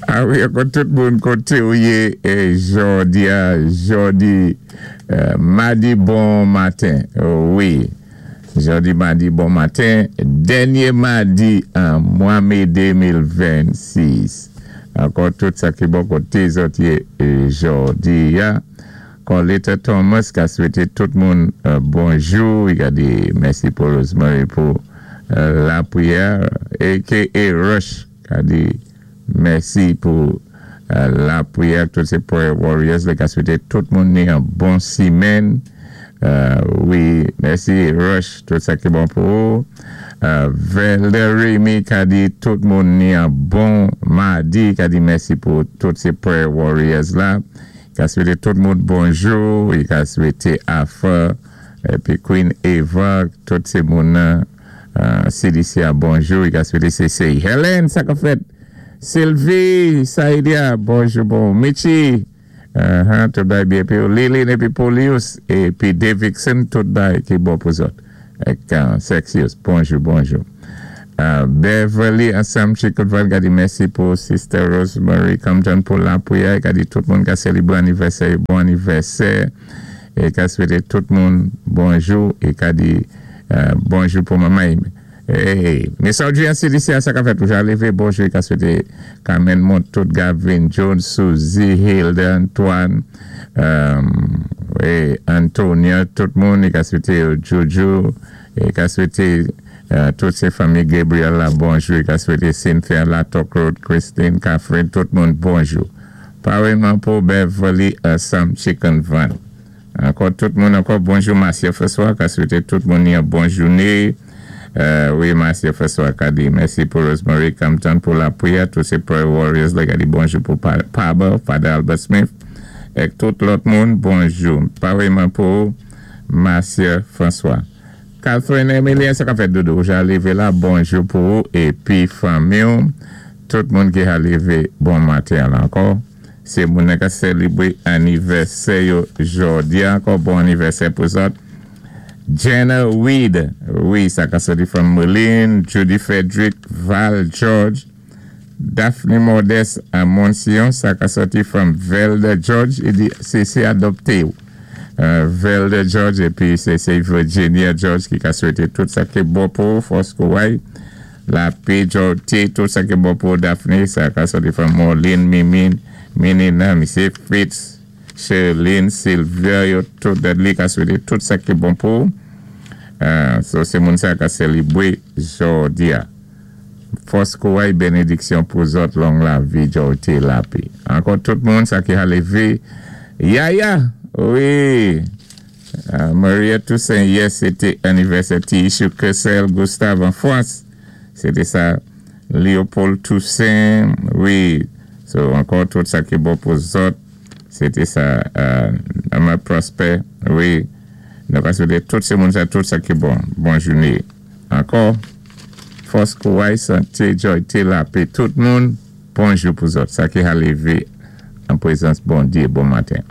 A wi, ankò tout moun koté ou yé jòdi-a, jòdi madi bon maten. Wi, jòdi madi bon maten, dènyé madi an mwa mé 2026. Ankò tout sa ki bon koté zòt yé jòdi-a. Coletta Thomas ka swété tout moun bonjou. I ka di mèsi pou Rosemary pou lapriyè, aka Rush ka di mèsi pou lapriyè, tout sé prayer warriors. Li ka swété tout moun ni an bon simenn. Wi, mèsi Rush, tout sa ki bon pou ou. Velder Remy ka di tout moun ni an bon madi, ka di mèsi pou tout sé prayer warriors la. Ka swété tout moun bonjou, i ka swété Afa, épi Queen Eva, tout sé moun nan CDC a bonjou, i ka swété CC. Helen, sa ka fèt? Sylvie, Saidia, bonjou bon. Michi, tout bagay byen épi Lilin épi Polius, épi Davidson, tout bagay ki bon pou zòt. Ek Sexius, bonjou, bonjou. Beverly ansanm Chicken Van ka di mèsi pou Sister Rosemary Compton pou lapriyè, ka di tout moun ka sélébwé anivèsè, bon anivèsè, é ka swété tout moun bonjou, é ka di bonjou pou manman. Hey, Miss Audrey an CDC a, sa ka fèt toujou lévé, bonjou, é ka swété Carmen Montout, Gavin Jones, Suzy, Hilda, Antoine, é Antonia, tout moun, é ka swété Jojo, é ka swété tout sé fanmi Gabriel la bonjou, é ka swété Cynthia Latok Road, Christine, Catherine, tout moun bonjou. Paréyman pou Beverly ansanm Chicken Van. Ankò tout moun ankò bonjou. Marcia François ka swété tout moun yon bon jouné. Wi, Marcia François ka di mèsi pou Rosemary Compton pou lapriyè, tout sé prayer warriors la ka di bonjou pou Paba, Father Albert Smith, ek tout lòt moun bonjou. Paréyman pou Marcia François. Catherine Emilien, sa ka fèt doudou, ja lévé la, bonjou pou ou épi fanmi ou. Tout moun ki ha lévé bon maten la ankò. Sé moun ka sélébwé anivèsè yo jòdi ankò, bon anivèsè pou zòt. Jenna Weed, wi, sa ka soti from Moline, Judy Frederick, Val George, Daphne Modeste à Montsion, sa ka soti from Velda George, i di sé adopté. Velda George épi sé Virginia George ki ka swété tout sa ki bon pou fòs kouway. Lapè, Jorte, tout sa ki bon pou Daphne, sa ka soti from Moline, Mimi, Minina, Misye Fritz, Sherlyn, Sylvia, yo tout Dudley ka swété tout sa ki bon pou. So sé moun sa ka sélébwé jòdi a. Fòs kouway, bénédiksyon pou zòt, long lavi, Jorte, lapè. Ankò tout moun sa ki ha lévé. Yaya, wi. Maria Toussaint, yè sété anivèsè Tiissou Kessel Gustave an Frans. Sété sa Léopold Toussaint, wi. So ankò tout sa ki bon pou zòt. Sété sa Ama Prosper, wi. Nou ka swété tout sé moun sa tout sa ki bon. Bon jouné. Ankò, fòs kouway, santé, jòyté, lapè, tout moun, bonjou pou zòt. Sa ki ha lévé an pwézans Bondyé, bon maten.